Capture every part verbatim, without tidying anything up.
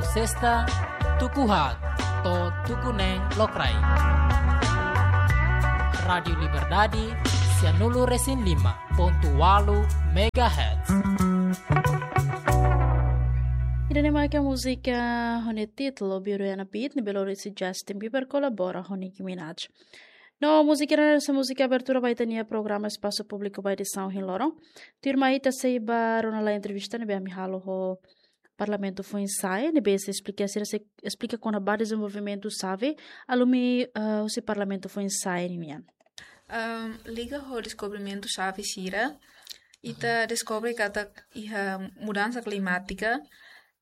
Sesta, tuku haat to'o tuku neen lokraik. Rádiu Liberdade, sianulu resin lima pontu walu megahertz. Ida-ne'e maka múzika ho nia títulu Beauty and a Beat, ne'ebé lori husi Justin Bieber kolabora ho Nicki Minaj. No múzika ne'e sai múzika abertura ba ita-nia programa Espasu Públiku ba edisaun ohin loron. Tuirmai ita sei ba rona lai entrevista ne'ebé ami halo ho Parlamentu Foinsa'e, ne'ebé sei esplika sira, sei esplika kona-ba dezenvolvimentu xave alumi, eh, husi Parlamentu Foinsa'e nian. Ahm, liga ho deskobrimentu xave sira, ita deskobre katak iha mudansa klimátika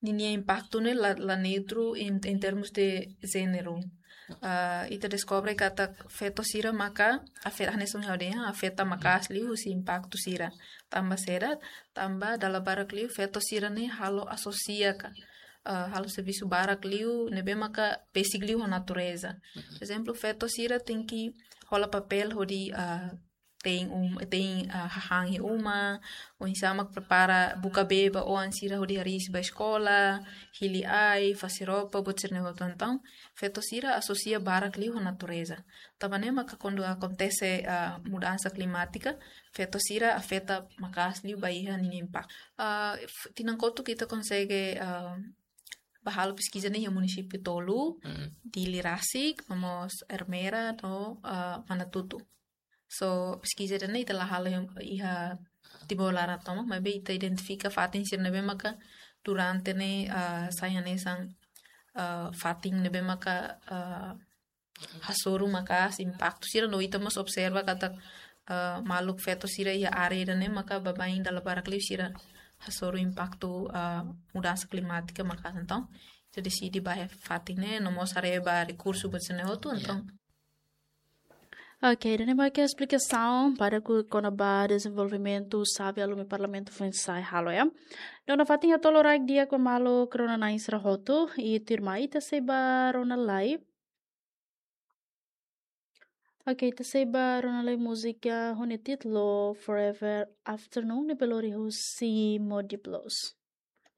ninia impaktu ne'e la, la neutru em, em termos de género. Ah, ita deskobre katak feto sira maka afeta, hanesan ha'u dehan, afeta maka'as liu husi impaktu sira. Tanba saida, tanba dala barak liu feto sira ne'e halo asosia ka, ah, halo servisu barak liu ne'ebé maka besik liu ho natureza. Por ezemplu, feto sira tenke hola papél hodi, ah, te'in um, te'in, ah, hahán iha uma, oinsá mak prepara buka bee ba oan sira hodi hariis ba eskola, hili ai, fase roupa, buat sira-ne'e hotu. Entaun, feto sira asosia barak liu ho natureza. Tanba ne'e maka kuandu akontese, ah, mudansa klimátika, feto sira afeta maka'as liu ba iha ninia impaktu. Ah, f-, tinan kotuk ita konsege, ah, bá halo peskiza ne'e iha munisípiu tolu, Mm. Dili rasik, no mós Ermera, no, ah, Manatuto. So, peskiza ida-ne'e ita la halo iha, iha Timor laran tomak, maibé ita identifika fatin sira ne'ebé maka durante ne'e, ah, sai hanesan, ah, fatin ne'ebé maka, ah, hasoru maka'as impaktu sira, no ita mós observa katak, ah, maluk feto sira iha área ida-ne'e maka baibain dala barak liu sira hasoru impaktu, ah, mudansa klimátika maka'as. Entaun, ita deside bá iha fatin ne'e, no mós haree ba rekursu buat sira-ne'e hotu, Yeah. entaun. Ok, ida-ne'e maka esplikasaun badak kona-ba dezenvolvimentu xave alumi Parlamentu Foinsa'e halo, ya. No nafatin hato'o loraik di'ak ba maluk rona-na'in sira hotu, i tuirmai ita sei bá rona lai. Ok, ita sei bá rona lai múzika ho nia títulu Forever Afternoon, ne'ebé lori husi Modi Blues.